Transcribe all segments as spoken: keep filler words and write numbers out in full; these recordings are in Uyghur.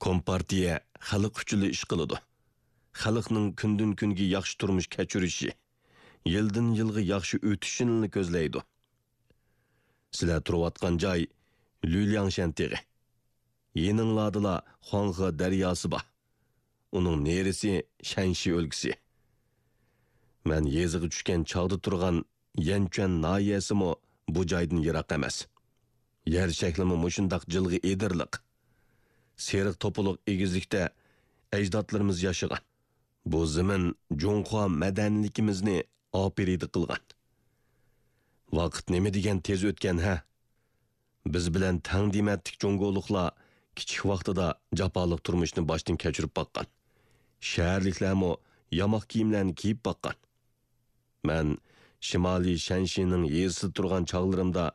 كومپارتىيە خەلق ئۈچۈنلا ئىش قىلىدۇ. خەلقنىڭ كۈندىن-كۈنگە ياخشى تۇرمۇش كەچۈرۈشى، يىلدىن-يىلغا ياخشى ئۆتۈشىنىلا كۆزلەيدۇ. سىلەر تۇرۇۋاتقان جاي لۈلياڭشەن تېغى. يېنىڭلاردىلا خۇاڭخې دەرياسى بار. ئۇنىڭ نېرىسى شەنشى ئۆلكىسى. مەن يېزىغا چۈشكەن چاغدا تۇرغان يەنچۈەن ناھىيەسىمۇ بۇ جايدىن يىراق ئەمەس. يەر شەكلىمۇ مۇشۇنداق جىلغا ئېدىرلىق. سېرىق توپىلىق ئېگىزلىكتە ئەجدادلىرىمىز ياشىغان. بۇ زېمىن جۇڭخۇا مەدەنىيلىكىمىزنى ئاپىرىدە قىلغان. ۋاقىت نېمە دېگەن تېز ئۆتكەن ھە! بىز بىلەن تەڭ دېمەتلىك جۇڭگولۇقلار كىچىك ۋاقتىدا جاپالىق تۇرمۇشنى باشتىن كەچۈرۈپ باققان. شەھەرلىكلەرمۇ ياماق كىيىملەرنى كىيىپ باققان. مەن شىمالىي شەنشىنىڭ يېزىسىدا تۇرغان چاغلىرىمدا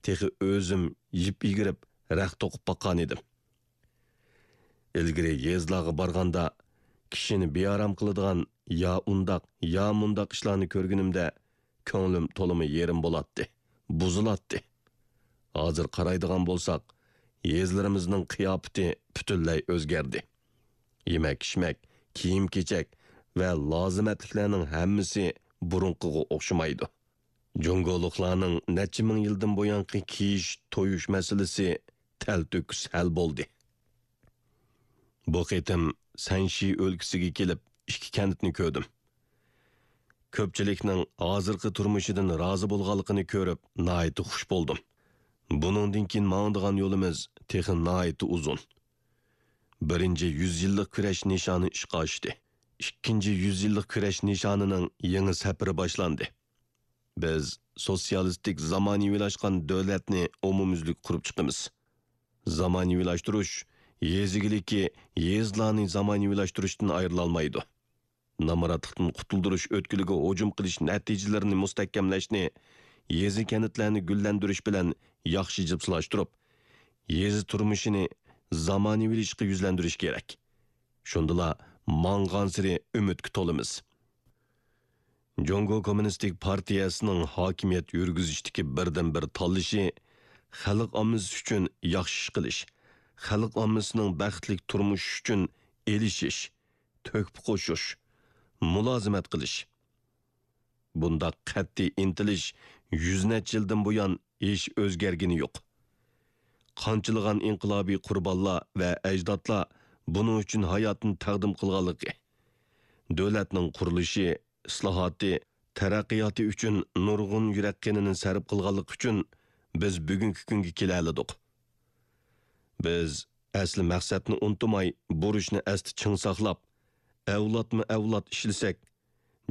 تېخى ئۆزۈم يىپ يىگىرىپ، رەخت توقۇپ باققان ئىدىم. ئىلگىرى يېزىلارغا بارغاندا، كىشىنى بىئارام قىلىدىغان يا ئۇنداق، يا مۇنداق ئىشلارنى كۆرگىنىمدە، كۆڭلۈم تولىمۇ يېرىم بولاتتى، بۇزۇلاتتى. ھازىر قارايدىغان بولساق، يېزىلىرىمىزنىڭ قىياپىتى پۈتۈنلەي ئۆزگەردى. يېمەك-ئىچمەك، كىيىم-كېچەك ۋە لازىمەتلىكلەرنىڭ ھەممىسى بۇرۇنقىغا ئوخشىمايدۇ. جۇڭگولۇقلارنىڭ نەچچە مىڭ يىلدىن بۇيانقى كىيىش، تويۇش مەسىلىسى تەلتۆكۈس ھەل بولدى. بۇ قېتىم سەنشى ئۆلكىسىگە كېلىپ، ئىككى كەنتنى كۆردۈم. كۆپچىلىكنىڭ ھازىرقى تۇرمۇشىدىن رازى بولغانلىقىنى كۆرۈپ، ناھايىتى خۇش بولدۇم. بۇنىڭدىن كېيىن ماڭىدىغان يولىمىز تېخى ناھايىتى ئۇزۇن. بىرىنچى يۈز يىللىق كۈرەش نىشانى ئىشقا ئاشتى. ئىككىنچى يۈز يىللىق كۈرەش نىشانىنىڭ يېڭى سەپىرى باشلاندى. بىز سوتسىيالىستىك زامانىۋىلاشقان دۆلەتنى ئومۇميۈزلۈك قۇرۇپ چىقىمىز. زامانىۋىلاشتۇرۇش يېزا ئىگىلىكى يېزىلارنى زامانىۋىلاشتۇرۇشتىن ئايرىلالمايدۇ. نامراتلىقتىن قۇتۇلدۇرۇش ئۆتكىلىگە ھۇجۇم قىلىش نەتىجىلىرىنى مۇستەھكەملەشنى، يېزا-كەنتلەرنى گۈللەندۈرۈش بىلەن ياخشى جىپسىلاشتۇرۇپ، يېزا تۇرمۇشىنى زامانىۋىلىشىشقا يۈزلەندۈرۈش كېرەك. شۇندىلا ماڭغانسېرى ئۈمىدكە تولىمىز. جۇڭگو كوممۇنىستىك پارتىيەسىنىڭ ھاكىمىيەت يۈرگۈزۈشتىكى بىردىنبىر تاللىشى خەلق ئاممىسى ئۈچۈن ياخشى ئىش قىلىش، خەلق ئاممىسىنىڭ بەختلىك تۇرمۇشى ئۈچۈن ئېلىشىش، تۆھپە قوشۇش، مۇلازىمەت قىلىش. بۇنداق قەتئىي ئىنتىلىش يۈز نەچچە يىلدىن بۇيان ھېچ ئۆزگەرگىنى يوق. قانچىلىغان ئىنقىلابىي قۇربانلار ۋە ئەجدادلار بۇنىڭ ئۈچۈن ھاياتىنى تەقدىم قىلغانلىقى، دۆلەتنىڭ قۇرۇلۇشى، ئىسلاھاتى، تەرەققىياتى ئۈچۈن نۇرغۇن يۈرەك قېنىنى سەرپ قىلغانلىقى ئۈچۈن بىز بۈگۈنكى كۈنگە كېلەلىدۇق. بىز ئەسلى مەقسەتنى ئۇنتۇماي، بۇرچنى ئەستە چىڭ ساقلاپ، ئەۋلادمۇ ئەۋلاد ئىشلىسەك،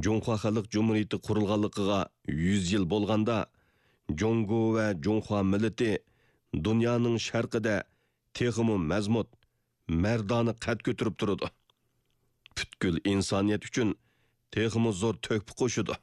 جۇڭخۇا خەلق جۇمھۇرىيىتى قۇرۇلغانلىقىغا يۈز يىل بولغاندا، جۇڭگو ۋە جۇڭخۇا مىللىتى دۇنيانىڭ شەرقىدە تېخىمۇ مەزمۇت، مەردانە قەد كۆتۈرۈپ تۇرىدۇ. پۈتكۈل ئىنسانىيەت ئۈچۈن تېخىمۇ زور تۆھپە قوشىدۇ.